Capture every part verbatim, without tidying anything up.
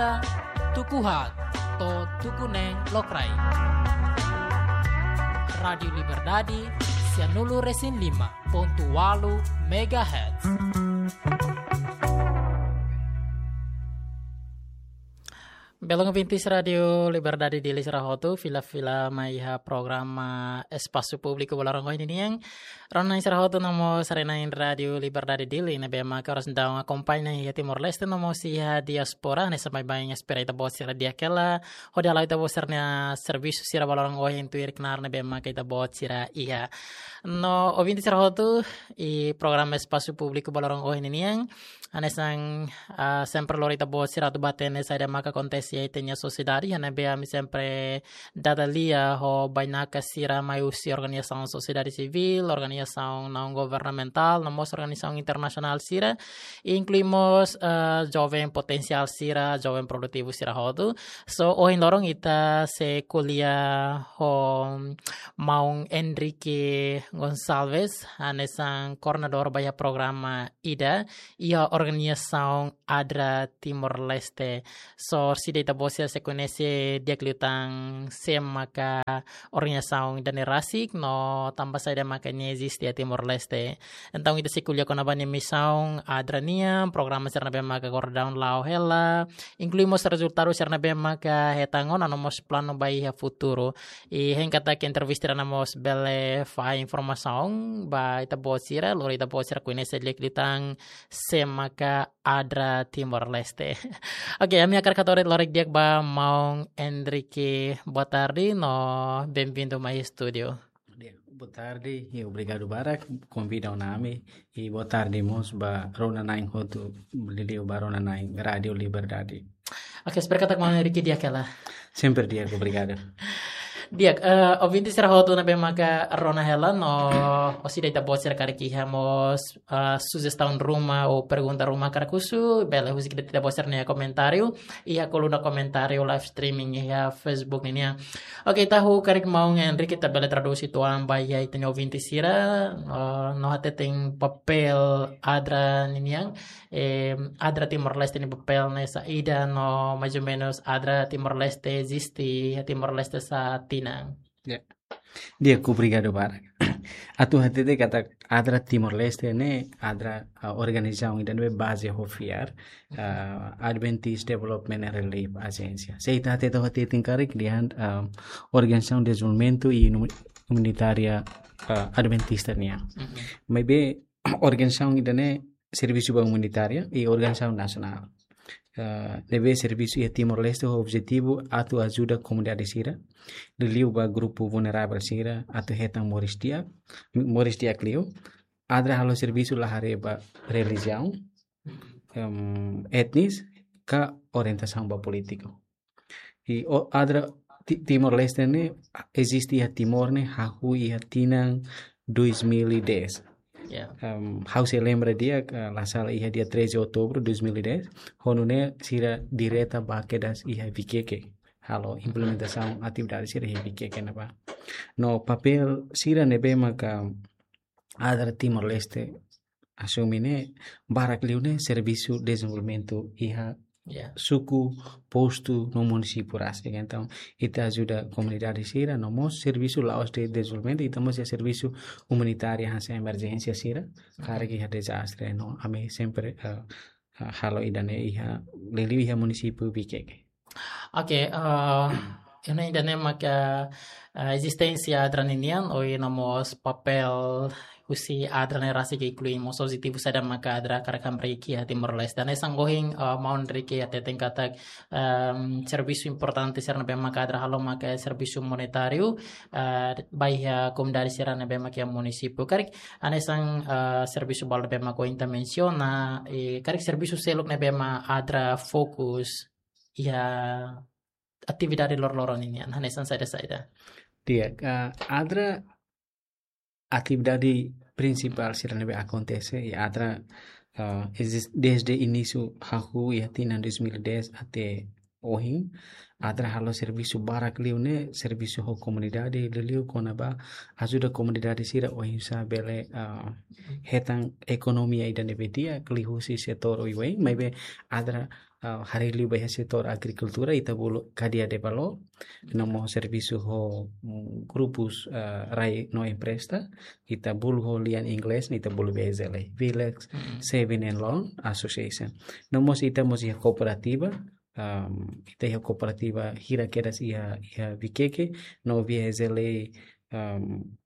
Tuku haat to'o tuku neen lokraik. Rádiu Liberdade, sianulu resin lima pontu ualu megahertz. Belun ouvintes Rádiu Liberdade Dili sira hotu, fila-fila mai iha programa Espasu Públiku ba loron ohin nian. Rona-na'in sira hotu no mós haree-na'in Rádiu Liberdade Dili ne'ebé maka oras daudaun akompaña iha Timor-Leste no mós iha diáspora, hanesan baibain espera ita-boot sira di'ak hela hodi hala'o ita-boot sira-nia servisu sira ba loron ohin tuir knaar ne'ebé maka ita-boot sira iha. No ouvinte sira hotu, iha programa Espasu Públiku ba loron ohin nian, hanesan, ah, sempre lori ita-boot sira atu bá hatene saida maka akontese iha ita-nia sosiedade, iha ne'ebé ami sempre dada lia ho bainaka sira mai husi organizasaun sosiedade sivíl, organizasaun naun governamentál, no mós organizasaun internasionál sira, inklui mós, eh, joven potensiál sira, joven produtivu sira hotu. So, ohin loron ita sei ko'alia ho maun Enrique Gonçalves, hanesan koordenadór ba iha programa ida, iha organizasaun ADRA Timor-Leste. So, orsida ita-boot sira sei koñese di'ak liután sé maka organizasaun ida-ne'e rasik no tanba saida maka nia eziste iha Timor-Leste. Entaun ita sei ko'alia kona-ba nia misaun ADRA nian, programa sira ne'ebé maka agora daudaun la'o hela, inklui mós rezultadu sira ne'ebé maka hetan ona no mós planu ba iha futuru. I hein katak entrevista ida-ne'e mós bele fahe informasaun ba ita-boot sira, lori ita-boot sira koñese di'ak liután sé maka ADRA Timor-Leste. Oke, ami hakarak hato'o de'it loroloron di'ak ba maun Enrique, boa tarde, no bem-vindo mai estúdiu. Di'ak, boa tarde, i obrigadu barak konvida ona ami, i boa tarde mós ba rona-na'in hotu, liuliu ba rona-na'in Rádiu Liberdade. Oke, espera katak maun Enrique di'ak hela. Sempre di'ak, obrigadu. Di'ak, eh, ouvinte sira hotu ne'ebé maka rona hela no, orsida ita-boot sira karik iha mós, eh, sujestaun ruma ou pergunta ruma karik husu, bele husik de'it ita-boot sira-nia komentáriu iha koluna komentáriu live streaming iha Facebook nian. Oke, ita hakarak maun Enrique ita bele tradús uitoan ba iha ita-nia ouvinte sira, eh, no hateten papél ADRA nian, eh, ADRA Timor-Leste nia papél ne'e saida no mais ou menus ADRA Timor-Leste eziste iha Timor-Leste sá tinan. Ya. Di'ak, obrigadu barak. Atu hatete katak ADRA Timor-Leste ne'e ADRA, ah, organizasaun ida ne'ebé baze ho fiar, ah, Adventist Development and Relief Agency. Se ita hatete ho hateten karik dehan, ah, organizasaun dezenvolvimentu i umanitária, ah, Adventista nian. Mhm. Maibé organizasaun ida-ne'e servisu ba umanitária i organizasaun nasionál. Eh, ne'ebé servisu iha Timor-Leste ho objetivu atu ajuda komunidade sira, liuliu ba grupu vulneravel sira atu hetan moris di'ak, moris di'ak liu. ADRA halo servisu la haree ba relijiaun, em, etnis, ka orientasaun ba polítiku. I o ADRA Ti-, Timor-Leste ne'e eziste iha Timor ne'e hahú iha tinan dois mil e dez. Ya. Em, ha'u sei lembra di'ak, eh, la sala iha dia treze de outubro dois mil e dez, ho nune'e sira direta bá kedas iha Viqueque. Halo implementasaun atividade sira iha Viqueque ne'ebá. No papél sira ne'ebé maka ADRA Timor-Leste asume ne'e barak liu ne'e servisu dezenvolvimentu iha, ya, suku, postu no munisípiu rasik. Entaun, ita ajuda komunidade sira, no mós servisu la'ós de'it dezenvolvimentu, ita mós iha servisu umanitáriu hanesan emerjénsia sira, mhm, karik iha dezastre, no ami sempre, eh, eh, halo ida-ne'e iha, liuliu iha munisípiu Viqueque. Oke, eh, ida-ne'e maka, eh, ezisténsia ADRA ninian, ohin no mós papél husi ADRA ne'e rasik, inklui mós objetivu saida maka ADRA hakarak hamriik iha Timor-Leste. Hanesan ohin, eh, maun Enrique hateten katak, em, servisu importante sira ne'ebé maka ADRA halo maka servisu umanitáriu, eh, ba iha komunidade sira ne'ebé maka iha munisípiu. Karik hanesan, eh, servisu balu ne'ebé maka ohin ita mensiona, i karik servisu seluk ne'ebé mak ADRA fokus iha atividade loroloron ninian, hanesan saida-saida? Di'ak, eh, ADRA atividade prinsipál sira ne'ebé akontese iha ADRA, eh, ezis-, desde inísiu hahú iha tinan dois mil e dez até ohin, ADRA halo servisu barak liu ne'e, servisu ho komunidade, liuliu kona-ba ajuda komunidade sira oinsá bele, eh, hetan ekonomia ida ne'ebé di'ak liuhusi setór oioin, maibé ADRA ah, haree liu ba iha setór agrikultura, ita bolu cadeia de valor, no mós servisu ho, mm, grupus, ah, rai no empresta, ita bolu ho lian inglés, ita bolu V S L A, Village Mm. Saving and Loan Association. No mós ita mós iha kooperativa, am, ita iha kooperativa hira kedas iha, iha Viqueque, no V S L A, am,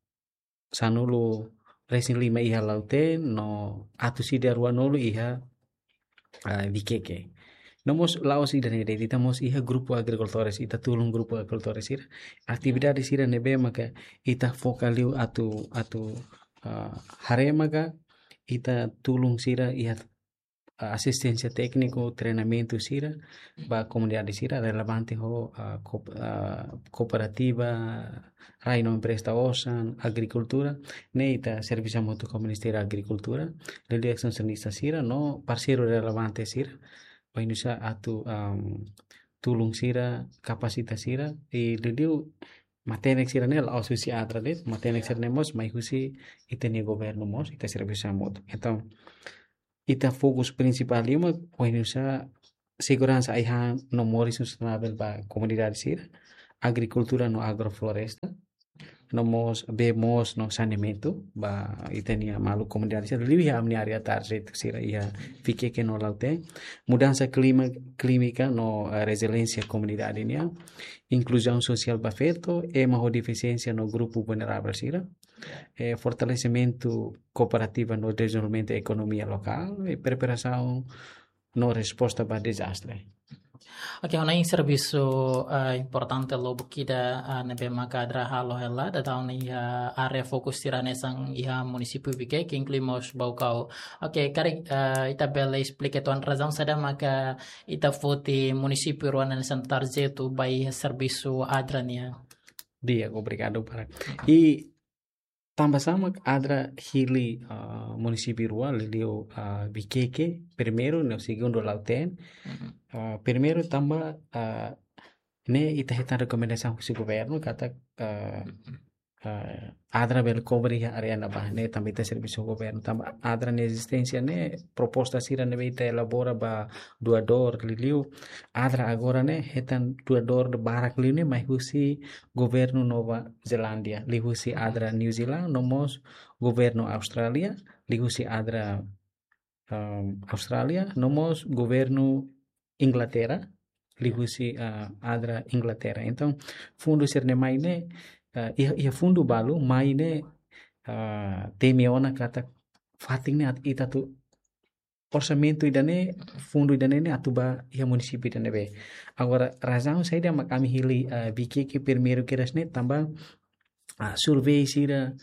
sanulu-resin-lima iha Lautém, no atus ida ruanulu iha, ah, Viqueque. No mós la'ós ida-ne'e de'it, ita mós iha grupu agrikultores, ita tulun grupu agrikultores sira. Atividade sira ne'ebé maka ita foka liu atu, atu, ah, haree maka ita tulun sira iha, ah, asisténsia tékniku, treinamentu sira, ba komunidade sira relevante ho, ah, koop-, ah, kooperativa, rai no empresta osan, agrikultura, ne'e ita servisu hamutuk ho Ministériu Agrikultura, liuliu estensionista sira, no parseiru relevante sira, ba inusá atu, am, tulun sira, kapasita sira, i liuliu matenek sira ne'e la'ós husi ADRA de'it, matenek sira ne'e mós mai husi ita-nia governu mós, ita servisu hamutuk. Entaun, ita fokus prinsipál liu mak oinsá seguransa ai-han no moris sustentável ba komunidade sira, agrikultura no agrofloresta, no mós bee moos no saneamentu ba ita-nia maluk komunidade sira, liu iha ami-nia área target sira iha Viqueque no Lautém, mudansa klima, klímika no, eh, reziliénsia komunidade nian, inkluzaun sosiál ba feto, ema ho defisiénsia no grupu vulneravel sira, eh, fortalesimentu kooperativa no dezenvolvimentu ekonomia lokál, i preparasaun no resposta ba dezastre. Oke, ona iha servisu, eh, importante lubuk ida, eh, ne'ebé maka ADRA halo hela, daudaun iha área fokus sira hanesan iha munisípiu Viqueque, inklui mós Baucau. Oke, karik, eh, ita bele esplika uitoan razaun saida maka ita foti munisípiu rua hanesan target ba iha servisu ADRA nian. Di'ak, obrigadu barak. I tanba sá mak ADRA hili, ah, munisípiu rua, liuliu, ah, Viqueque primeiru, no segundu Lautém. Mhm. Ah, primeiru tanba, ah, ne'e ita hetan rekomendasaun husi governu katak, ah, Mhm. ah, ADRA bele kobre iha área ne'ebá, ne'e tanba ita servisu ho governu, tanba ADRA nia ezisténsia ne'e proposta sira ne'ebé ita elabora ba doadór, liuliu ADRA agora ne'e hetan doadór barak liu ne'e mai husi governu Nova Zelándia, liuhusi ADRA New Zealand, no mós governu Austrália, liuhusi ADRA, um, Austrália, no mós governu Inglaterra, liuhusi, uh, ADRA Inglaterra. Entaun, fundu sira-ne'e mai ne'e, uh, iha, iha fundu balu mai ne'e, uh, temi ona katak fatin ne'e atu, ita atu orsamentu ida-ne'e, fundu ida-ne'e ne'e atu ba iha munisípiu ida ne'ebé. Agora, razaun saida mak ami hili, ah, Viqueque primeiru kedas ne'e tanba, ah, survei sira,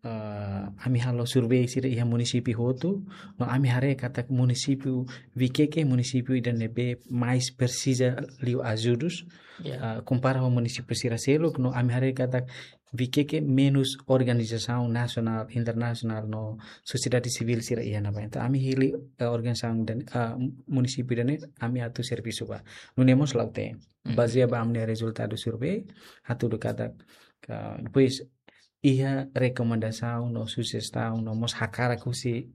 ah, ami halo survei sira iha munisípiu hotu, no ami haree katak munisípiu Viqueque, munisípiu ida ne'ebé mais presiza liu ajudus, Ya. ah, kompara ho munisípiu sira seluk, no ami haree katak Viqueque menus organizasaun nasionál, internasionál no sosiedade sivíl sira iha ne'ebá. Entaun, ami hili, eh, organizasaun ida-ne'e, ah, munisípiu ida-ne'e, ami atu servisu ba. Nune'e mós Lautém. Mhm. Bazeia ba ami-nia rezultadu survei, hatudu katak, ka, depois, iha rekomendasaun no sujestaun no mós hakarak husi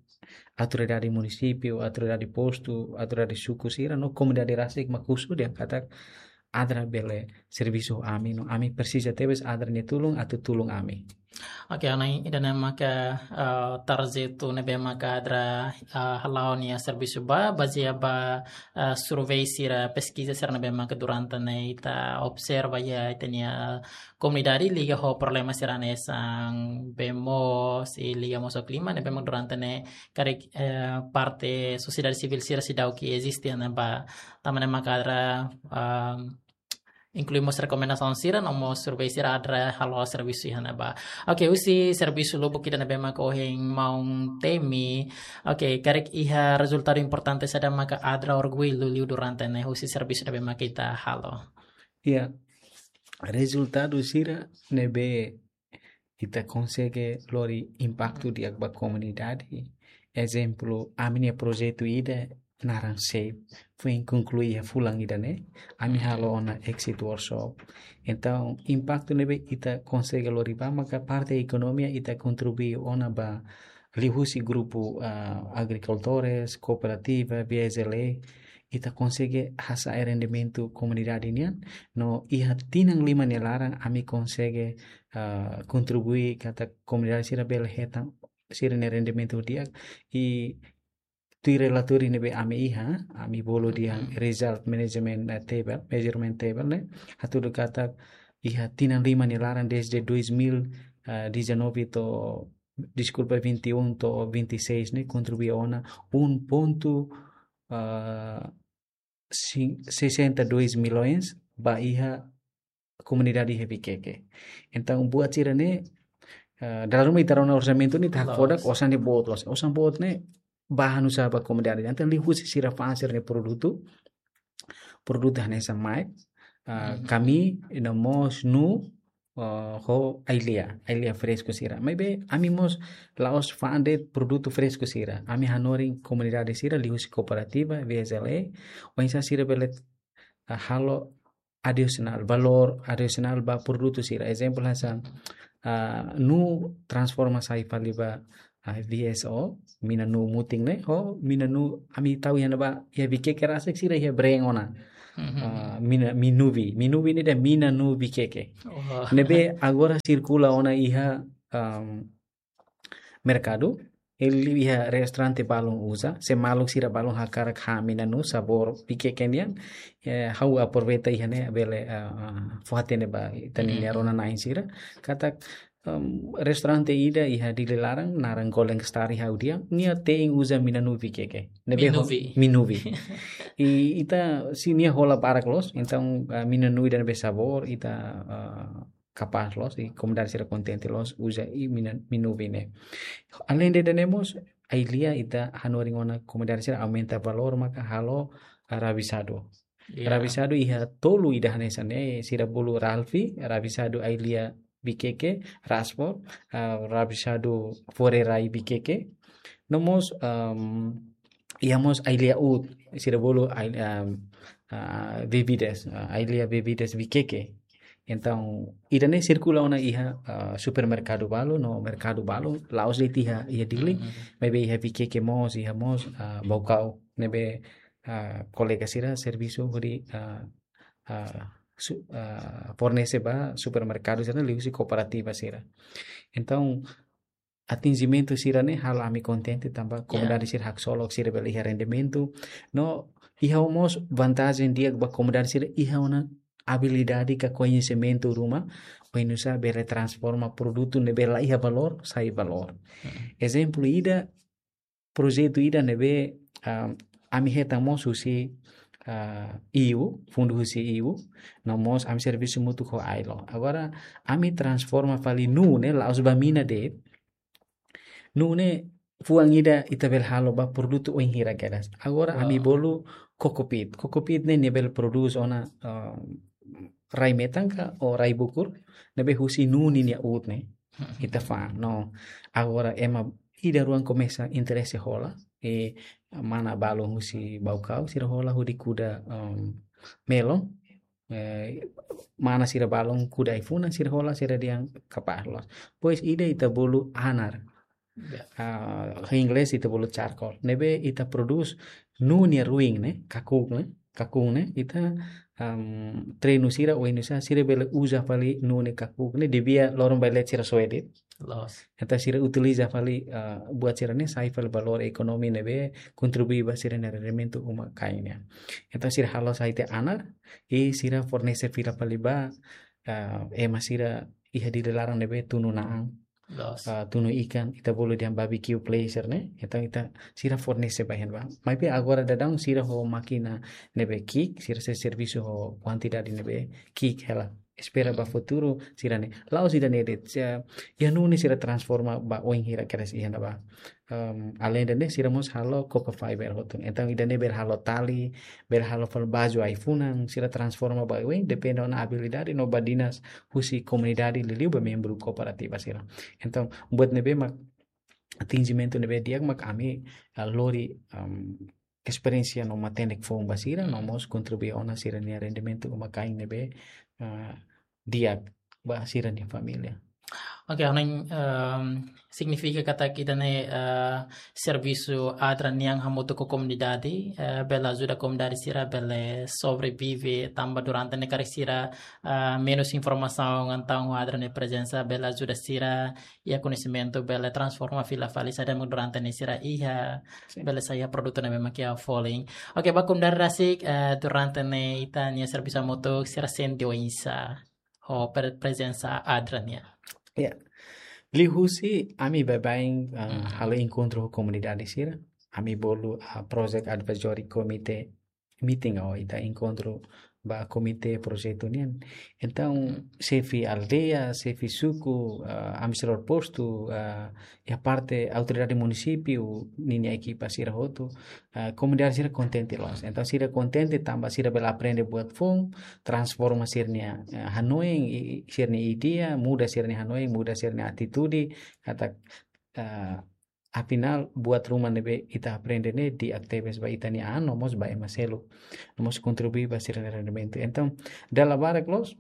autoridade munisípiu, autoridade postu, autoridade suku sira, no komunidade rasik mak husu dehan katak ADRA bele servisu ami, no ami presiza tebes ADRA nia tulun atu tulun ami. Oke, ona ida-ne'e maka, eh, target ne'ebé maka ADRA, eh, hala'o nia servisu ba, bazeia ba, eh, survei sira, peskiza sira ne'ebé maka durante ne'e ita observa iha ita-nia komunidade liga ho problema sira hanesan bee moos, i liga mós ho klima, ne'ebé mak durante ne'e karik, eh, parte sosiedade sivíl sira seidauk eziste iha ne'ebá, tanba ne'e maka ADRA, ah, inklui mós rekomendasaun sira, no mós survei sira ADRA halo servisu iha ne'ebá. Oke, husi servisu lubuk ida ne'ebé maka ohin maun temi. Oke, karik iha rezultadu importante saida maka ADRA orgullu liu durante ne'e husi servisu ne'ebé maka ita halo. Ya, rezultadu sira ne'ebé ita konsege lori impaktu di'ak ba komunidade. Ezemplu, ami-nia projetu ida naran SAVE, foin konklui iha fulan ida-ne'e, ami halo ona exit workshop. Entaun, impaktu ne'ebé ita konsege lori ba maka parte ekonomia ita kontribui ona ba liuhusi grupu, ah, agrikultores, kooperativa, V S L A, ita konsege hasa'e rendimentu komunidade nian, no iha tinan lima nia laran ami konsege, ah, kontribui katak komunidade sira bele hetan sira-nia rendimentu di'ak. I tuir relatóriu ne'ebé ami iha, ami bolu dehan, mhm, result management, eh, table, measurement table ne'e, hatudu katak iha tinan lima nia laran desde dois mil e dezanove to'o, deskulpa, vinte e um to'o vinte e seis ne'e, kontribui ona um ponto, ah, si-, sessenta e dois milhões ba iha komunidade iha Viqueque. Entaun, buat sira-ne'e, ah, dala ruma ita rona orsamentu ne'e ita hakfodak, loos, osan ne'e boot loos. Osan boot ne'e ba halo nu'usá ba komunidade. Entaun, liuhusi sira fa'an sira-nia produtu, produtu hanesan maek, ah, mhm, kami, no mós nuu, ah, ho ai-lia, ai-lia fresku sira. Maibé, ami mós la'ós fa'an de'it produtu fresku sira. Ami hanorin komunidade sira, liuhusi kooperativa, V S L A, oinsá sira bele, ah, halo adisionál, valór adisionál ba produtu sira. Ezemplu hanesan, ah, nuu transforma sai fali ba, ah, V S O, mina nuu mutin ne'e, ho mina nuu ami tau iha ne'ebá, iha Viqueque rasik sira iha breng ona. Mhm. Ah, mina, Minuvi, Minuvi ne'e dehan mina nuu Viqueque. Wah. Ne'ebé agora sirkula ona iha, am, merkadu, liuliu iha restaurante balun uza, se maluk sira balun hakarak han mina nuu sabór Viqueque nian, eh, ha'u aproveita iha ne'e bele, ah, ah, fó-hatene ba ita-nia, mhm, rona-na'in sira. Katak, em, restaurante ida iha Dili laran, naran Golden Star iha ha'u dehan, nia te'in uza mina nuu Viqueque. Ne'ebé ho-, Minuvi. Minuvi. I ita, se nia hola barak loos, entaun, ah, mina nuu ida ne'ebé sabór, ita, ah, kapás loos, i komunidade sira kontente loos, uza i mina, Minuvi ne'e. Aleinde ida-ne'e mós, ai-lia ita hanorin ona komunidade sira aumenta valór maka halo, ah, rabisadu. Ya. Rabisadu iha tolu ida hanesan ne'e, sira bolu Ralfi, rabisadu ai-lia Viqueque, Raspor, ah, rabisadu fore rai Viqueque. No mós, em, iha mós ai-lia uut, sira bolu ai-, em, ah, bebidas, ah, ai-lia bebidas Viqueque. Entaun, ida-ne'e sirkula ona iha, ah, supermerkadu balu, no merkadu balu, la'ós de'it iha, iha Dili, mhm, maibé iha Viqueque mós, iha mós, ah, Baucau, ne'ebé, ah, kolega sira servisu hodi, ah, ah, su-, ah, fornese ba supermerkadu sira liuhusi kooperativa sira. Entaun, atinjimentu sira-ne'e halo ami kontente tanba, ya, komunidade sira haksolok, sira bele iha rendimentu. No iha mós vantajen di'ak ba komunidade sira iha ona abilidade ka koñesimentu ruma, oinsá bele transforma produtu ne'ebé la iha valór sai valór. Hmm. Ezemplu ida, projetu ida ne'ebé, ah, ami hetan mós husi, ah, E U, fundu husi E U, no mós ami servisu hamutuk ho ailo. Agora, ami transforma fali nuu ne'e, la'ós ba mina de'it, nuu ne'e fuan ida ita bele halo ba produtu oin hira kedas. Agora, wow, ami bolu kokopit. Kokopit ne'e nia bele prodús ona, ah, rai metan ka ou rai bukur, ne'ebé husi nuu ninia uut ne'e. Hmm. Ita fa'an, no. Agora ema ida rua komesa interese hola, i mana balun husi Baucau, sira hola hodi kuda, em, melon, eh, mana sira balun kuda ai-funan, sira hola, sira dehan kapás loos. Depois ida ita bolu anar. Ya. Ah, ho inglés ita bolu charcoal. Ne'ebé ita prodús nuu nia ruin ne'e, kakuk ne'e, kakun ne'e, ita, am, treinu sira oinsá sira bele uza fali nuu ne'e kakuk ne'e, desde loron bailet sira soe de'it. Loos. Entaun sira utiliza fali, ah, buat sira-ne'e sai fali valór ekonomi ne'ebé kontribui ba sira-nia rendimentu uma-kain nian. Entaun sira halo sai tiha anar, i sira fornese fila fali ba, ah, ema sira iha Dili laran ne'ebé tunu na'an. Loos. Ah, tunu ikan, ita bolu dehan barbecue place ne'e. Entaun ita sira fornese ba iha ne'ebá. Maibé agora daudaun sira ho mákina ne'ebé ki'ik, sira sei servisu ho kuantidade ne'ebé ki'ik hela. Espera ba futuru sira-ne'e. La'ós ida-ne'e de'it, sira, iha nuu ne'e sira transforma ba oin hira kedas iha ne'ebá. Em, aleinde ne'e sira mós halo Cocofiber hotu. Entaun ida-ne'e bele halo tali, bele halo fali baju ai-funan, sira transforma ba oin, depende ona abilidade no badinas husi komunidade liuliu ba membru kooperativa sira. Entaun, buat ne'ebé mak atinjimentu ne'ebé di'ak mak ami, ah, lori, em, esperiénsia no matenek foun ba sira, no mós kontribui ona sira-nia rendimentu uma-kain ne'ebé, ah, di'ak ba sira-nia família. Oke, hanoin, ehm, signifika katak ita-nia, eh, servisu ADRA nian hamutuk ho komunidade, eh, bele ajuda komunidade sira bele sobrevive tanba durante ne'e karik sira, eh, menus informasaun, entaun ADRA nia prezensa bele ajuda sira iha koñesimentu bele transforma fila fali saida mak durante ne'e sira iha, sin, bele sai iha produtu ne'ebé mak iha folin. Oke, ba komunidade rasik, eh, durante ne'e ita-nia servisu hamutuk sira sente oinsá ho pre-, prezensa ADRA nian? Ya. Liuhusi ami baibain, ah, Hmm. halo enkontru ho komunidade sira. Ami bolu, ah, Project Advisory Committee meeting ou ita enkontru ba komité projetu nian. Entaun, Hmm. xefe aldeia, xefe suku, ah, administradór postu, ah, iha parte autoridade munisípiu, ninia ekipa sira hotu, ah, komunidade sira kontente loos. Entaun, sira kontente tanba sira bele aprende buat foun, transforma sira-nia, eh, hanoin, i, i, sira-nia ideia, muda sira-nia hanoin, muda sira-nia atitude, katak, eh, afinál, buat ruma ne'ebé ita aprende ne'e di'ak tebes ba ita-nia an, no mós ba ema seluk, no mós kontribui ba sira-nia rendimentu. Entaun, dala barak loos,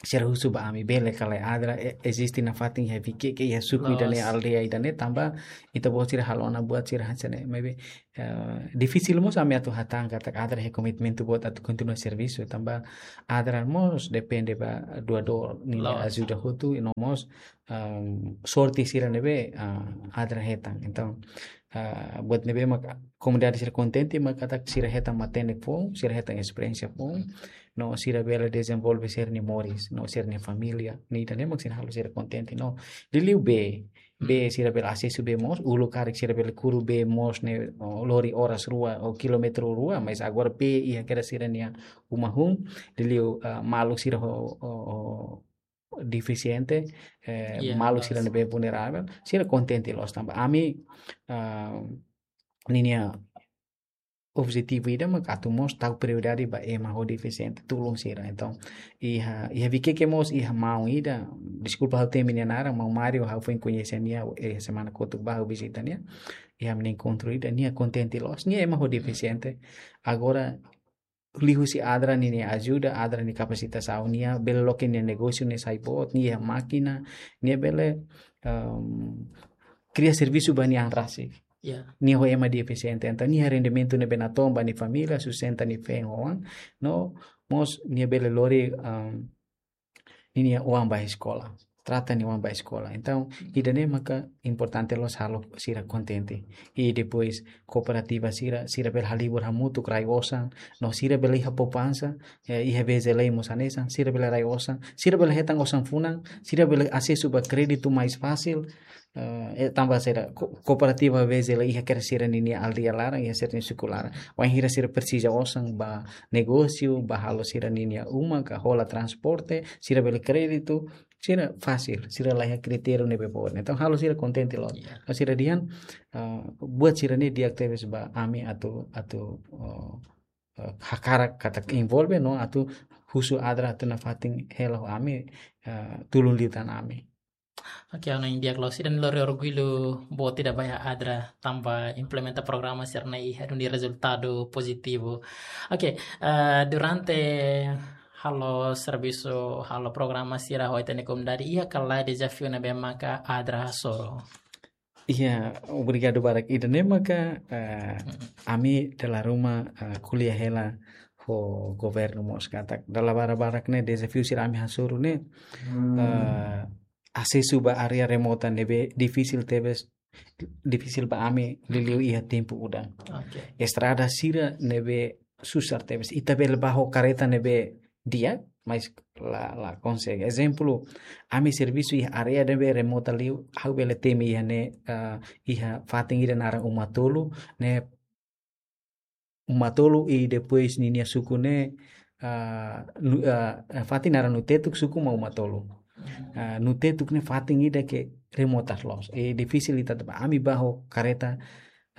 sira husu ba ami bele ka lae ADRA, e-, eziste nafatin iha Viqueque, iha suku ida-ne'e, loos, aldeia ida-ne'e, tanba ita-boot sira halo ona buat sira hanesan ne'e. Maibé, eh, difisil mós ami atu hatán katak ADRA iha komitmentu boot atu kontinua servisu, tanba ADRA mós depende ba doadór ninia, loos, ajuda hotu, i no mós, ehm, sorte sira ne'ebé, ah, ADRA hetan. Entaun, ah, buat ne'ebé mak komunidade sira kontente mak katak sira hetan matenek foun, sira hetan esperiénsia foun, no sira bele dezenvolve sira-nia moris, no sira-nia família, ne'e ida-ne'e mak sira halo sira kontente, no. Liuliu bee, bee, hmm, sira bele asesu bee moos, uluk karik sira bele kuru bee moos ne'e, o, lori oras rua, o, kilómetru rua, mas agora bee iha kedas sira-nia uma hun, liuliu, ah, maluk sira ho, ho, ho defisiente, eh, iya, maluk sira, loos, ne'ebé vulneravel, sira kontente loos tanba ami, ah, ninia objetivu ida mak atu mós tau prioridade ba ema ho defisiente, tulun sira. Entaun, iha, iha Viqueque mós iha maun ida, deskulpa ha'u temi nia naran, maun Mário, ha'u foin koñese nia, eh, semana kotuk ba ha'u vizita nia, iha ami-nia enkontru ida, nia kontente loos, nia ema ho defisiente. Agora, liuhusi ADRA ninia ajuda, ADRA nia kapasitasaun, nia bele loke nia negósiu ne'e sai boot, nia iha mákina, nia bele, ehm, kria servisu ba nia an rasik. Ya. Nia ho ema defisiente, entaun nia rendimentu ne'ebé natoon ba nia família, sustenta nia feen ho oan, no mós nia bele lori, ehm, ninia oan ba eskola, trata nia oan ba eskola. Entaun, hmm, ida-ne'e maka importante loos halo sira kontente. I depois, kooperativa sira, sira bele halibur hamutuk rai osan, no sira bele iha poupansa, eh, iha VGL mós hanesan, sira bele rai osan, sira bele hetan osan funan, sira bele asesu ba kréditu mais fasil, eh, eh, tanba sira ko-, kooperativa VGL iha kedas sira-ninia aldeia laran, iha sira-nia suku laran. Wainhira sira presiza osan ba negósiu, ba halo sira-ninia uma, ka hola transporte, sira bele kréditu, sira fasil, sira la iha kritériu ne'ebé boot. Entaun, halo sira kontente loos. Iya. Ka sira dehan, ah, buat sira-ne'e di'ak tebes ba ami atu, atu, oh, eh, hakarak katak envolve no atu husu ADRA atu nafatin hela ho ami, eh, tulun liután ami. Oke, hanoin di'ak loos, ida-ne'e lori orgullu boot ida ba iha ADRA tanba implementa programa sira-ne'e iha duni rezultadu pozitivu. Oke, eh, durante halo servisu, halo programa sira ho ita-nia komunidade, iha ka lae dezafiu ne'ebé maka ADRA hasoru? Iya, obrigadu barak. Ida-ne'e maka, eh, hmm, ami dala ruma, eh, ko'alia hela ho governu mós katak dala barak-barak ne'e dezafiu sira ami hasoru ne'e, hmm, eh, asesu ba área remota ne'ebé difisil tebes, difisil ba ami liuliu iha tempu udan. Oke. Estrada sira ne'ebé susar tebes. Ita bele bá ho kareta ne'ebé di'ak, mas la, la konsege. Ezemplu, ami servisu iha área ne'ebé remota liu, ha'u bele temi iha ne'e, eh, iha fatin ida naran Uma Tolu, ne'e Uma Tolu i depois ninia suku ne'e, ah, nu-, ah, eh, fatin naran Nutetuk, suku mak Uma Tolu. Ah, Nutetuk ne'e fatin ida ke remota loos. I difisil ita bá, ami bá ho kareta,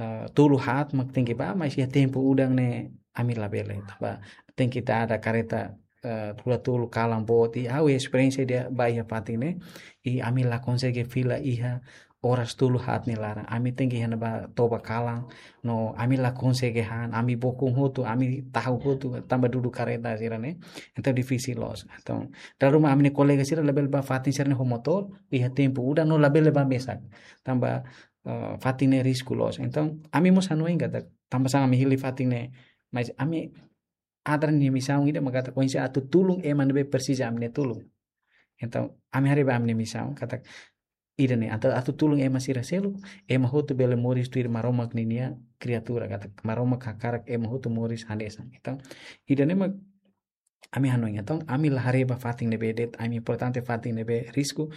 ah, tolu haat mak tenke bá, mas iha tempu udan ne'e ami labele. Tanba tenke dada kareta, eh, rua tolu kalan boot. I ha'u esperiénsia ida bá iha fatin ne'e. I ami la konsege fila iha oras tolu haat nia laran. Ami tenke iha ne'ebá toba kalan, no ami la konsege han, ami bokon hotu, ami tahu hotu, tanba dudu kareta sira ne'e. Entaun difisil loos. Entaun, dala ruma ami-nia kolega sira labele bá fatin sira ne'e ho motór, iha tempu udan no labele bá mesak. Tanba, eh, fatin ne'e risku loos. Entaun, ami mós hanoin katak, tanba sá ami hili fatin ne'e, mas ami ADRA nia misaun ida mak katak oinsá atu tulun ema ne'ebé presiza ami-nia tulun. Entaun, ami haree ba ami-nia misaun, katak ida-ne'e, atu, atu tulun ema sira seluk, ema hotu bele moris tuir Maromak ninia kriatura, katak Maromak hakarak ema hotu moris hanesan. Entaun, ida-ne'e mak ami hanoin. Entaun, ami la haree ba fatin ne'ebé de'it, ami importante fatin ne'ebé risku,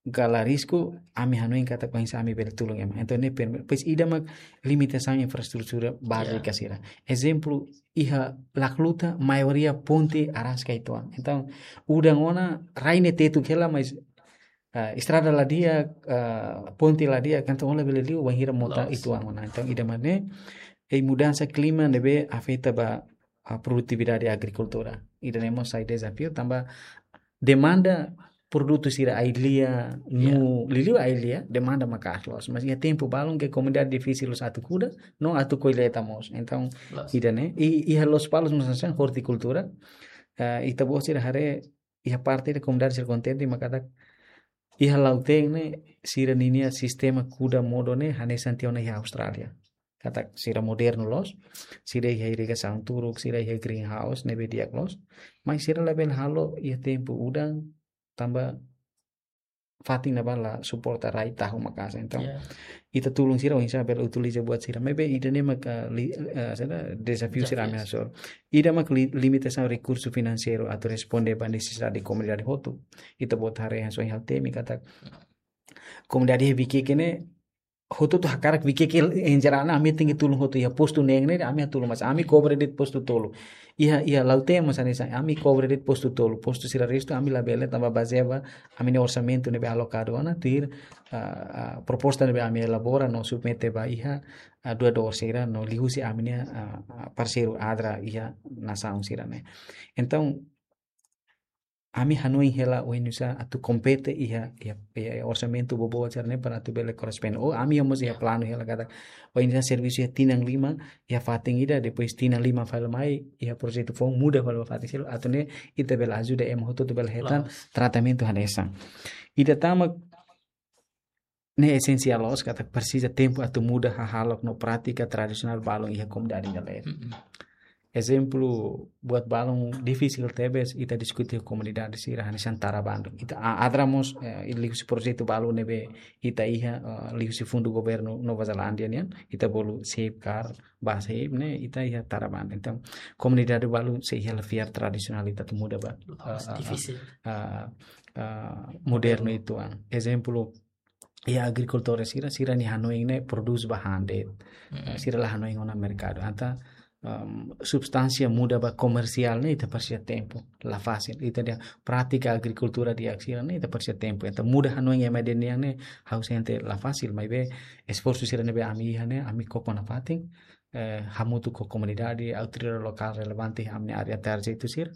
ka la risku, ami hanoin katak oinsá ami bele tulun ema. Entaun, ne'e primeiro, depois ida mak limitasaun infraestrutura bázika sira. Ezemplu, iha Lacluta, maioria ponte araska uitoan. Entaun, udan ona, rai ne'e tetuk hela, mas, ah, estrada la di'ak, ah, ponte la di'ak, entaun ó labele liu, bainhira mota uitoan ona. Entaun, ida mak ne'e, iha mudansa klima ne'ebé afeta ba, ah, produtividade agrikultura. Ida-ne'e mós sai dezafiu, tanba demanda produtu sira ai-lia, no liuliu ai-lia, demanda maka'as loos. Mas iha tempu balun ke komunidade difisil loos atu kuda, no atu kolleita mós. Entaun, ida-ne'e, i, iha Lospalos mós hanesan ortikultura, eh, ita-boot sira haree, iha parte ida komunidade sira kontente, mak katak iha Lautein ne'e, sira ninia sistema kuda modo ne'e, hanesan tiha ona iha Austrália. Katak sira modernu loos, sira iha irrigasaun turuk, sira iha greenhouse, ne'ebé di'ak loos. Mas sira labele halo iha tempu udan, tanba fatin ne'ebá la suporta rai tahu maka'as. Entaun, ita tulun sira oinsá bele utiliza buat sira. Maibé ida-ne'e mak, eh, li-, eh, saida, dezafiu sira ami hasoru. Ida mak li-, limitasaun rekursu finanseiru atu responde ba nesesidade komunidade hotu. Ita-boot haree hanesan iha Altemi katak komunidade iha Viqueque ne'e, hotu-hotu hakarak Viqueque, en jerál, ami tenke tulun hotu iha postu neen ne'e, ami tulun, mas ami kobre de'it postu tolu. Iha, iha Lautein mós hanesan, ami kobre de'it postu tolu. Postu sira restu, ami labele, tanba bazeia ba ami-nia orsamentu ne'ebé alokadu ona, tuir, ah, ah, proposta ne'ebé ami elabora no submete ba iha, ah, doadór sira, no liuhusi ami-nia, ah, ah, parseiru ADRA iha nasaun sira-ne'e. Entaun, ami hanoin hela oinsá atu kompete iha, iha, iha orsamentu boboot sira-ne'e para atu bele korresponde. Ou ami mós iha planu hela katak oinsá servisu iha tinan lima, iha fatin ida, depois tinan lima fali mai, iha projetu foun muda fali ba fatin seluk, atu nune'e ita bele ajuda ema hotu atu bele hetan tratamentu hanesan. Ida tan mak ne'e esensiál loos katak presiza tempu atu muda hahalok no prátika tradisionál balun iha komunidade ida leet. Ezemplu, buat balun difisil tebes ita diskute komunidade sira hanesan tara bandu. Ita a-, ADRA mós, eh, liuhusi projetu balu ne'ebé ita iha, eh, liuhusi fundu governu Nova Zelándia nian, ita bolu Safeguard, ba Safeguard ne'e, ita iha tara bandu. Entaun, komunidade balu sei iha la fiar tradisionál ita atu muda ba, eh, eh, difisil. Eh, eh, modernu uitoan. Ezemplu, iha agrikultór sira, sira-nia hanoin ne'e produz ba han de'it. Sira la hanoin ona merkadu. Entaun, em, substánsia muda ba komersiál ne'e ita presiza tempu, la fasil. Ita-nia prátika agrikultura di'ak sira ne'e ita presiza tempu. Entaun muda hanoin ema ida nian ne'e ha'u sente la fasil, maibé esforsu sira ne'ebé ami iha ne'e, ami koko nafatin, eh, hamutuk ho komunidade, autoridade lokál relevante iha ami-nia área tarjetu sira,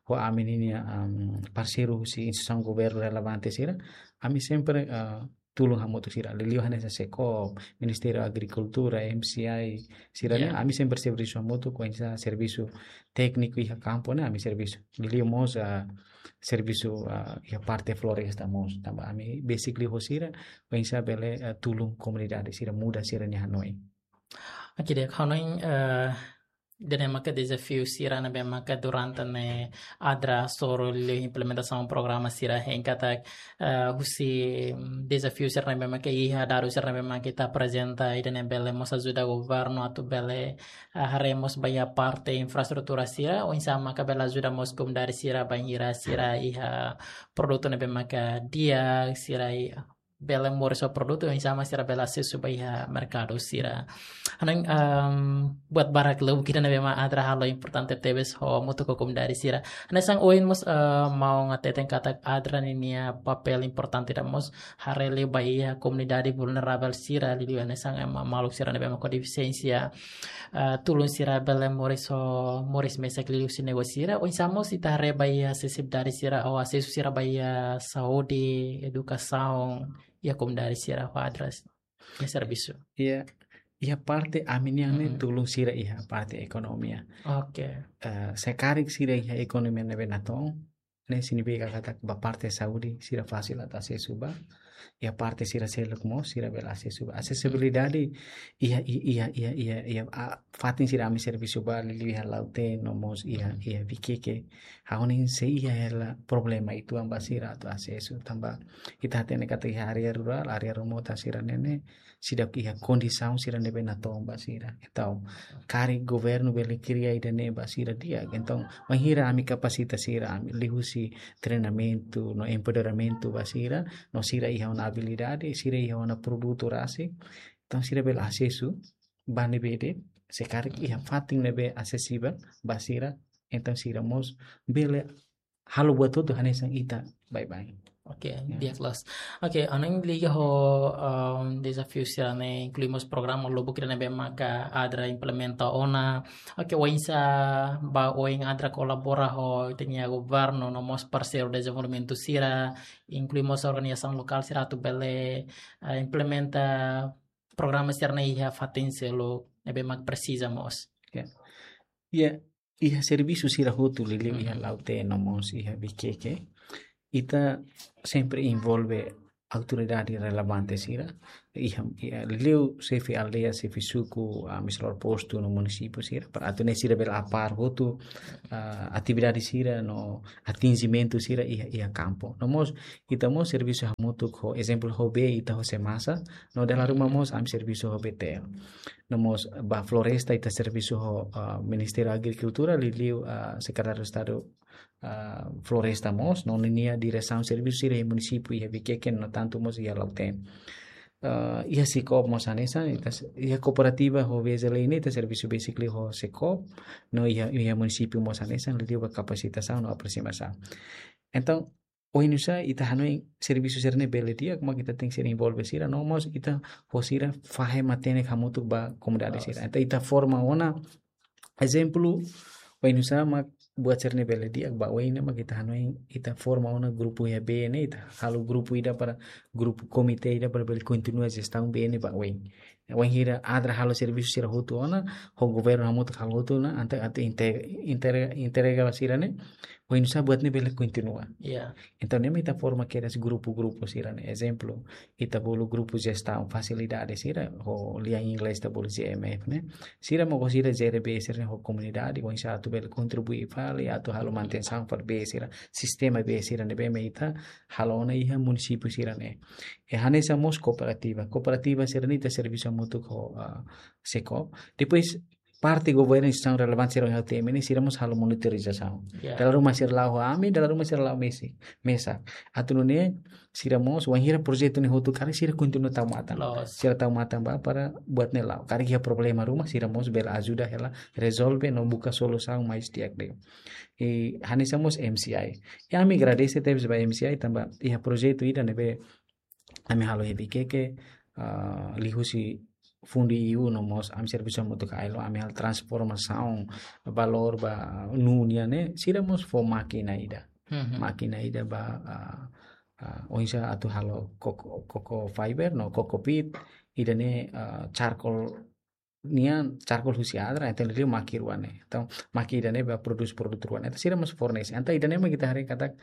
ho ami-nia, em, parseiru husi instituisaun governu relevante sira, ami sempre, eh, tulun hamutuk sira. Liuliu hanesan SEKOB, Ministériu Agrikultura, M C I, sira-ne'e, ami sempre servisu hamutuk, oinsá servisu tékniku iha kampu ne'e, ami servisu. Liuliu mós, ah, servisu, ah, iha parte floresta mós. Tanba ami besik liu ho sira, oinsá bele, ah, tulun komunidade sira muda sira-nia hanoin. Oke, di'ak, hanoin, eh, ida-ne'e maka dezafiu sira ne'ebé maka durante ne'e ADRA hasoru liu implementasaun programa sira hein katak, eh, husi, mm, dezafiu sira ne'ebé maka iha, dadus sira ne'ebé maka ita aprezenta, ida-ne'e bele mós ajuda governu atu bele, eh, haree mós ba iha parte infraestrutura sira, oinsá maka bele ajuda mós komunidade sira bainhira sira iha produtu ne'ebé maka di'ak, sira iha bele moris ho produtu, oinsá mak sira bele asesu ba iha merkadu sira. Hanoin, em, buat barak lubuk ida ne'ebé mak ADRA halo importante tebes ho hamutuk ho komunidade sira. Hanesan ohin mós, eh, maun hateten katak ADRA ninia papél importante ida mós haree liu ba iha komunidade vulneravel sira, liuliu hanesan ema maluk sira ne'ebé mak ho defisiénsia, eh, tulun sira bele moris ho, moris mesak liuhusi negósiu sira, oinsá mós ita haree ba iha asesibilidade sira, ou asesu sira ba iha saúde, edukasaun, iha komunidade sira ho ADRA nia servisu? Iha, iha parte ami-nian ne'e, mhm, tulun sira iha parte ekonomia. Oke. Eh, se karik sira iha ekonomia ne'ebé natoon, ne'e signifika katak ba parte saúde sira fasil atu asesu ba. Iha parte sira seluk mós sira bele asesu ba. Asesibilidade iha, i-, iha, iha, iha, iha, ah, fatin sira ami servisu ba, liuliu iha Lautém no mós iha, mhm, iha Viqueque. Ha'u hanoin sei iha hela problema uitoan ba sira atu asesu, tanba ita hatene katak iha área rurál, área remotu sira-ne'e ne'e seidauk iha kondisaun sira ne'ebé natoon ba sira. Entaun, karik governu bele kria ida-ne'e ba sira di'ak. Entaun, bainhira ami kapasita sira, ami liuhusi treinamentu no empoderamentu ba sira, no sira iha ona abilidade, sira iha ona produtu rasik, entaun sira bele asesu ba ne'ebé de'it, se karik iha fatin ne'ebé asesivel ba sira, entaun sira mós bele halo buat hotu hanesan ita baibain. Oke, ya, di'ak loos. Oke, ha'u hanoin liga ho, em, dezafiu sira-ne'e, inklui mós programa lubuk ida ne'ebé maka ADRA implementa ona. Oke, oinsá ba oin ADRA kolabora ho ita-nia governu no mós parseiru dezenvolvimentu sira, inklui mós organizasaun lokál sira atu bele, eh, implementa programa sira-ne'e iha fatin seluk ne'ebé mak presiza mós? Ya. Ya, iha servisu sira hotu, liuliu iha, mhm, Lautém no mós iha Viqueque, ita sempre envolve autoridade relevante sira, iha, iha liuliu xefe aldeia, xefe suku, ah, administradór postu no munisípiu sira, para atu nune'e sira bele apar hotu, ah, atividade sira no atinjimentu sira iha, iha kampu. No mós, ita mós servisu hamutuk ho, ezemplu, ho bee ita ho SEMASA, no dala ruma, mhm, mós ami servisu ho B T L. No mós ba floresta ita servisu ho, ah, Ministériu Agrikultura, liuliu, ah, Sekretáriu Estadu, ah, Floresta mós, no ninia diresaun servisu sira iha munisípiu iha Viqueque, no tantu mós iha Lautém. Ah, iha SICOB mós hanesan, ita s-, iha kooperativa ho V Z L ne'e ita servisu basically ho SICOB, no iha, iha munisípiu mós hanesan, liuliu ba kapasitasaun no apresiasaun. Entaun, oinsá ita hanoin servisu sira-ne'e bele di'ak, mak ita tenke ser envolve sira, no mós ita ho sira fahe matenek hamutuk ba komunidade sira. Loos. Entaun ita forma ona, ezemplu, oinsá mak buat sira-ne'e bele di'ak ba oin ne'e, mak ita hanoin ita forma ona grupu iha bee ne'e, ita halo grupu ida para grupu komité ida para bele kontinua jestaun bee ne'e ba oin. Bainhira ADRA halo servisu sira hotu ona, ho governu hamutuk halo hotu ona, entaun atu inte-, inter-, entrega ba sira-ne'e, oinsá buat ne'e bele kontinua. Ya. Entaun, ne'e mak ita forma kedas grupu-grupu sira-ne'e. Ezemplu, ita bolu grupu jestaun fasilidade sira, ho lian inglés ita bolu G M F ne'e. Sira mak sira jere bee sira-ne'e ho komunidade, oinsá atu bele kontribui fali, atu halo manutensaun fali bee sira, sistema bee sira ne'ebé mak ita halo ona iha munisípiu sira-ne'e. I hanesan mós kooperativa. Kooperativa sira-ne'e ita servisu hamutuk ho, ah, SICOB. Depois, parte governu, instituisaun relevante sira iha T M ne'e, sira mós halo monitorizasaun. Ya. Dala ruma sira la'o ho ami, dala ruma sira la'o mesak. Mesak. Atu nune'e, sira mós, bainhira projetu ne'e hotu karik, sira kontinua tau matan. Loos. Sira tau matan ba para buat ne'e la'o. Karik iha problema ruma, sira mós bele ajuda hela rezolve no buka solusaun mais di'ak de'it. I hanesan mós M C I. I ami agradese tebes ba M C I, tanba iha projetu ida ne'ebé ami halo iha Viqueque, ah, liuhusi fundu E U no mós ami servisu hamutuk ho AILO, ami halo transformasaun valór ba nuu nian ne'e, sira mós fó mákina ida. Mhm. Mákina ida ba, ah, ah, oinsá atu halo coco, coco fiber no coco peat, ida-ne'e, ah, charcoal nian, charcoal husi ADRA, entaun liu maki rua ne'e. Entaun, maki ida-ne'e ba produs produtu rua ne'e. Entaun sira mós fornese. Entaun ida-ne'e mak ita haree katak,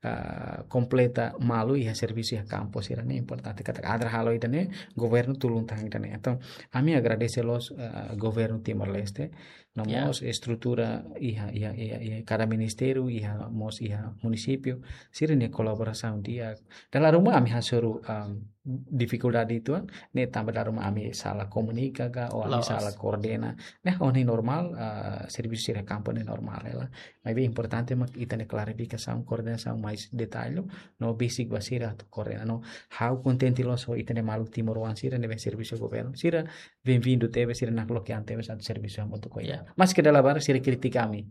ah, kompleta malu iha servisu iha kampu sira-ne'e importante. Katak ADRA halo ida-ne'e, governu tulun tan ida-ne'e. Entaun, ami agradese loos, ah, governu Timor-Leste, no, ya, mós estrutura iha, iha, iha, iha kada ministériu, iha mós iha munisípiu, sira-nia kolaborasaun di'ak. Dala ruma ami hasoru, ah, difikuldade uitoan, ne'e tanba dala ruma ami sala komunika ka, ou ami, loos, sala koordena. Ne'e ha'u hanoin normál, ah, servisu sira kampu ne'e normál hela. Maibé importante mak ita-nia klarifikasaun, koordenasaun mais detallu, no besik ba sira atu koordena. No ha'u kontente loos ho ita-nia maluk timoroan sira ne'ebé servisu governu. Sira benvindu tebes, sira nakloke an tebes atu servisu hamutuk ho ita. Ya. Maski dala barak sira kritika ami.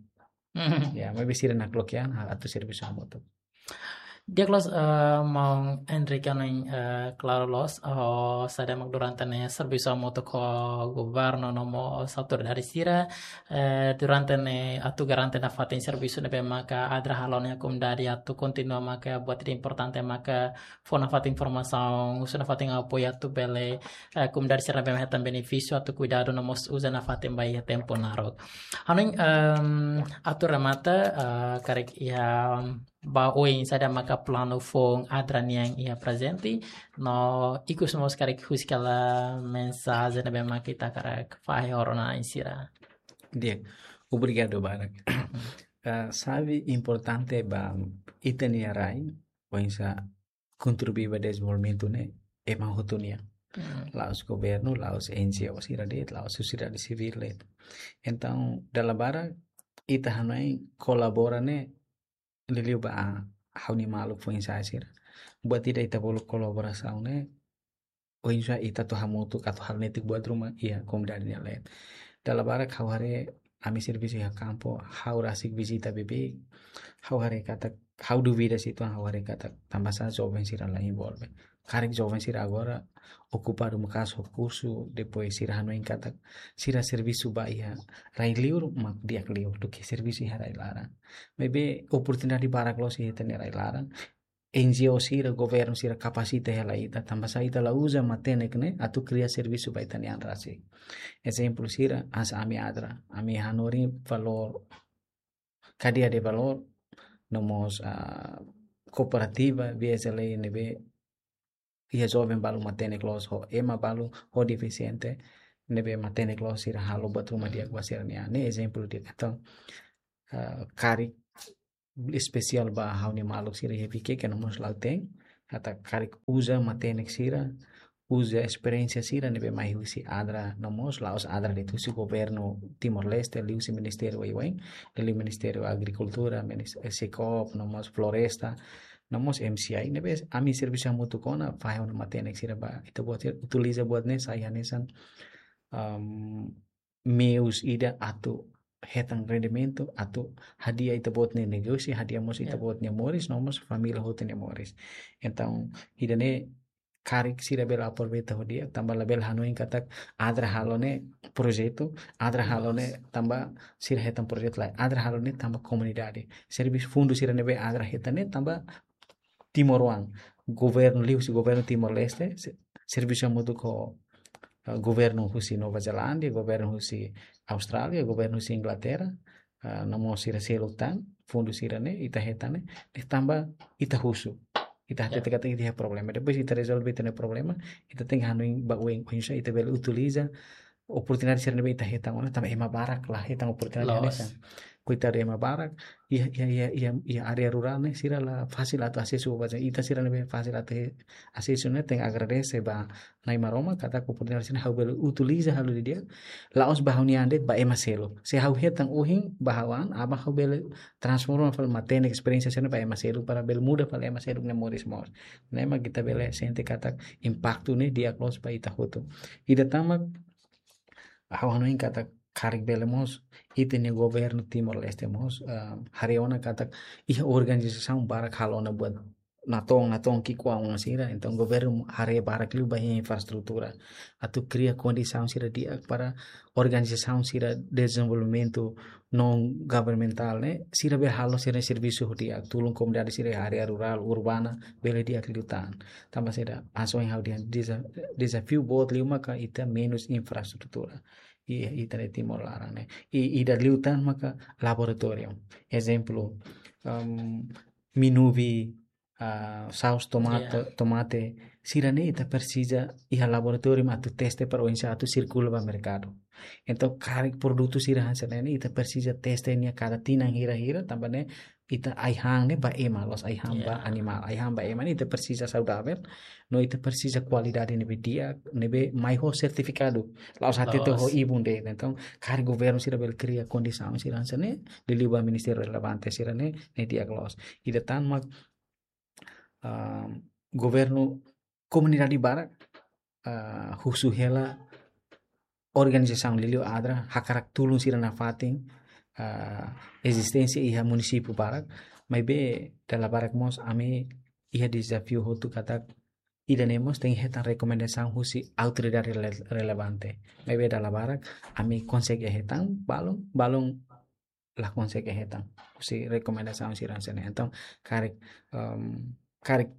Mhm. Ya, maibé sira nakloke an, ha, atu servisu hamutuk. Di'ak loos, eh, maun Enrique, hanoin, eh, klaru loos, oh, saida mak durante ne'e servisu hamutuk ho governu no mós autoridade sira, eh, durante ne'e atu garante nafatin servisu ne'ebé maka ADRA halo iha komunidade atu kontinua maka buat ida importante maka fó nafatin informasaun, husu nafatin apoiu atu bele, eh, komunidade sira ne'ebé hetan benefísiu atu kuidadu no mós uza nafatin ba iha tempu naruk. Hanoin, em, atu remata, eh, karik iha ba oin saida maka planu foun ADRA nian iha prezente, no ikus mós karik husik hela mensajen ne'ebé maka ita hakarak fahe ho rona-na'in sira. Di'ak, obrigadu barak. Eh, xave importante ba ita-nia rai, oinsá kontribui ba dezenvolvimentu ne'e, ema hotu nian. Hmm. La'ós governu, la'ós N G O sira de'it, la'ós sosiedade sivíl de'it. Entaun, dala barak, ita hanoin kolabora ne'e, liuliu ba ha'u-nia maluk foin-sa'e sira. Buat ida ita bolu kolaborasaun ne'e, oinsá ita atu hamutuk atu halo netik buat ruma iha komunidade nia leet. Dala barak ha'u haree ami servisu iha kampu, ha'u rasik vizita beibeik, ha'u haree katak, ha'u duvida situasaun, ha'u haree katak, tanbasá joven sira la envolve. Karik joven sira agora okupadu maka'as ho kursu, depois sira hanoin katak, sira servisu ba iha rai liur mak di'ak liu duké servisu iha rai laran. Maibé oportunidade barak loos iha ita-nia rai laran. N G O sira, governu sira kapasita hela ita, tanbasá ita la uza matenek ne'e atu kria servisu ba ita-nia an rasik. Ezemplu sira, hanesan ami ADRA, ami hanorin valór, kadeia de valór, no mós, ah, kooperativa, V S L A ne'ebé iha joven balu matenek loos ho ema balu ho defisiente, ne'ebé matenek loos sira halo buat ruma di'ak ba sira-nia an. Ne'e ezemplu di'ak. Entaun, ah, karik espesiál ba ha'u-nia maluk sira iha Viqueque no mós Lautém, katak karik uza matenek sira, uza esperiénsia sira ne'ebé mai husi ADRA no mós la'ós ADRA de'it, husi governu Timor-Leste, liuhusi ministériu wai-wain, liuliu Ministériu Agrikultura, minis-, eh, SECOP, no mós Floresta, no mós M C I, ne'ebé ami servisu hamutuk ona, fahe ona matenek sira ba ita-boot sira, utiliza buat ne'e sai hanesan, am, meius ida atu hetan rendimentu, atu hadi'a ita-boot nia negósiu, hadi'a mós, ya, ita-boot nia moris, no mós família hotu nia moris. Entaun, ida-ne'e karik sira bele aproveita ho di'ak, tanba labele hanoin katak ADRA halo ne'e projetu, ADRA halo ne'e, loos, tanba sira hetan projetu lae. ADRA halo ne'e tanba komunidade. Servisu fundu sira ne'ebé ADRA hetan ne'e tanba timoroan. Governu, liuhusi governu Timor-Leste, se-, servisu hamutuk ho, eh, governu husi Nova Zelándia, governu husi Austrália, governu husi Inglaterra, eh, no mós sira seluk tan, fundu sira-ne'e, ita hetan ne'e, ne'e tanba ita husu. Ita, ya, hatete katak ita iha problema. Depois ita rezolve ita-nia problema, ita tenke hanoin ba oin, oinsá ita bele utiliza oportunidade sira ne'ebé ita hetan ona, tanba ema barak la hetan oportunidade, loos, hanesan. Koitadu ema barak, iha, iha, iha, iha, iha área rurál ne'e, sira la fasil atu asesu ba, ita sira ne'ebé fasil atu he-, asesu ne'e, tenke agradese ba Nai Maromak katak oportunidade sira-ne'e ha'u bele utiliza halo didi'ak, la'ós ba ha'u-nia an de'it, ba ema seluk. Se ha'u hetan ohin ba ha'u an, aban ha'u bele transforma fali matenek esperiénsia sira-ne'e ba ema seluk, para bele muda fali ema seluk nia moris mós. Ne'e mak ita bele sente katak impaktu ne'e di'ak loos ba ita hotu. Ida tan mak, ha'u hanoin katak karik bele mós, ita-nia governu Timor-Leste mós, ah, haree ona katak iha organizasaun barak halo ona buat natoon, natoon ki'ikoan sira, entaun governu haree barak liu ba iha infraestrutura. Atu kria kondisaun sira di'ak para organizasaun sira dezenvolvimentu non-governamentál ne'e, sira bele halo sira servisu ho di'ak, tulun komunidade sira área rurál, urbana, bele di'ak liután. Tanba saida, hanesan ohin ha'u dehan deza-, dezafiu boot liu maka ita menus infraestrutura. I, ita-nia Timor laran ne'e. I, ida liután maka laboratóriu. Ezemplu, em, minuvi, ah, saus tomate, ya, tomate, sira-ne'e ita presiza iha laboratóriu atu teste para oinsá atu sirkula ba merkadu. Entaun, karik produtu sira hanesan ne'e ne'e, ita presiza teste nia kada tinan hira-hira, tanba ne'e ita ai-han ne'e ba ema, la'ós ai-han ba, ya, animál. Ai-han ba ema ne'e ita presiza saudavel, no ita presiza kualidade ne'ebé di'ak, ne'ebé mai ho sertifikadu. La'ós hatete ho, loos, ibun de'it. Entaun, karik governu sira bele kria kondisaun sira hanesan ne'e, liuliu ba ministériu relevante sira-ne'e, ne'e di'ak loos. Ida tan mak, ah, governu, komunidade barak, ah, husu hela organizasaun liuliu ADRA, hakarak tulun sira nafatin, ah, ezisténsia iha munisípiu barak, maibé dala barak mós ami iha dezafiu hotu katak ida-ne'e mós tenke hetan rekomendasaun husi autoridade rele-, relevante. Maibé dala barak ami konsege hetan, balun, balun la konsege hetan husi rekomendasaun sira hanesan ne'e. Entaun, karik, em, karik,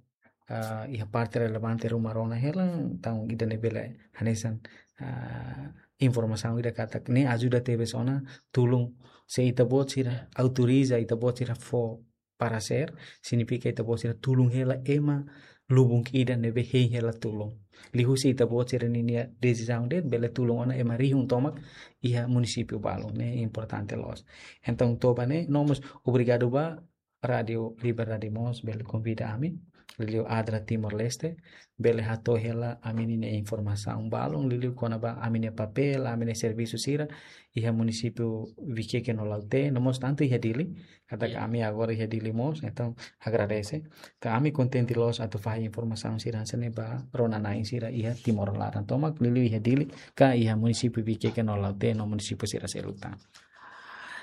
ah, iha parte relevante ruma rona hela, entaun ida-ne'e bele hanesan, ah, informasaun ida katak ne'e ajuda tebes ona tulun se ita-boot sira autoriza ita-boot sira fó paresér, signifika ita-boot sira tulun hela ema lubun ida ne'ebé hein hela tulun. Liuhusi ita-boot sira ninia desizaun de'it bele tulun ona ema rihun tomak iha munisípiu balun, ne'e importante loos. Entaun, to'o ba ne'e, no mós obrigadu ba Rádiu Liberdade mós bele konvida ami, liuliu ADRA Timor-Leste, bele hato'o hela ami-nia informasaun balun, liuliu kona-ba ami-nia papél, ami-nia servisu sira iha munisípiu Viqueque no Lautém, no mós tantu iha Dili, katak ami agora iha Dili mós, entaun agradese. Ka ami kontente loos atu fahe informasaun sira hanesan ne'e ba rona-na'in sira iha Timor laran tomak, liuliu iha Dili, ka iha munisípiu Viqueque no Lautém, no munisípiu sira seluk tan.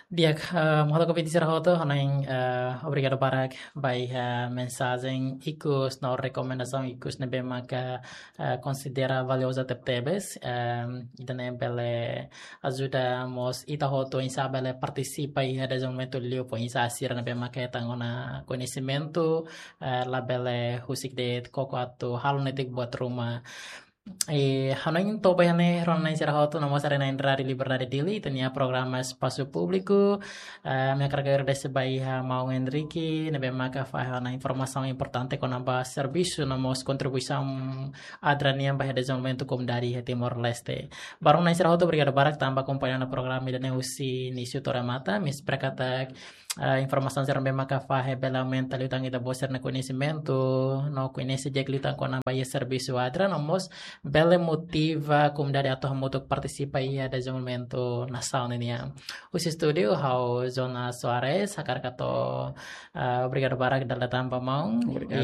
Di'ak, eh, maluk ouvinte sira hotu, hanoin, eh, obrigadu barak ba iha mensajen ikus no rekomendasaun ikus ne'ebé maka, eh, konsidera valioza tebetebes, em, ida-ne'e bele ajuda mós ita hotu oinsá bele partisipa iha dezenvolvimentu liu, fó oinsá sira ne'ebé maka hetan ona koñesimentu, eh, labele husik de'it koko atu halo netik buat ruma. I hanoin to'o ba iha ne'e rona-na'in sira hotu, no mós haree-na'in Rádiu Liberdade Dili, ita-nia programa Espasu Públiku. Eh, ami hakarak agradese ba iha maun Henrique, ne'ebé maka fahe ona informasaun importante kona-ba servisu no mós kontribuisaun ADRA nian ba iha dezenvolvimentu komunidade iha Timor-Leste. Ba rona-na'in sira hotu, obrigadu barak tanba akompaña ona programa ida-ne'e husi inísiu to'o remata, ami espera katak, eh, informasaun sira ne'ebé maka fahe bele aumenta liután ita-boot sira-nia koñesimentu, no koñese di'ak liután kona-ba iha servisu ADRA, no mós bele motiva komunidade atu hamutuk partisipa iha dezenvolvimentu nasaun nian. Husi estúdiu, ha'u Jonas Soares, hakarak hato'o, eh, obrigadu barak dala ida tan ba maun. Obrigadu.